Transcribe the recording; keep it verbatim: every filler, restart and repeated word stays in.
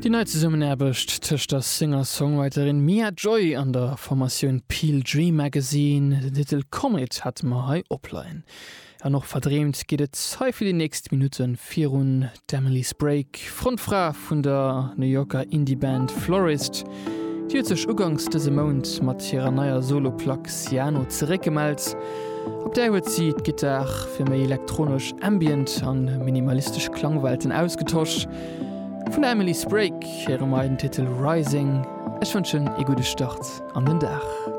Déi nei Zesummenaarbecht tëscht der Singer-Songwriterin Mia Joy an der Formatioun Peel Dream Magazine, den Titel Comet hate mer hei opleien. An och verdreemt geet et hei fir déi nächst Minutte virun. D'Emily Sprague, Frontfra vun der New Yorker Indie-Band Florist, déi huet sech uganks dëse Mount mat hirer neier Solo-Plack Ciano zeréckgemellt. Op där huet si d'Gittar fir méi elektronesch Ambient an minimalistesch Klangwelten ausgetosch. Vun der Emily Sprague héiere mer den Titel Rising. Ech wënschen ee gudde Start an den Dag.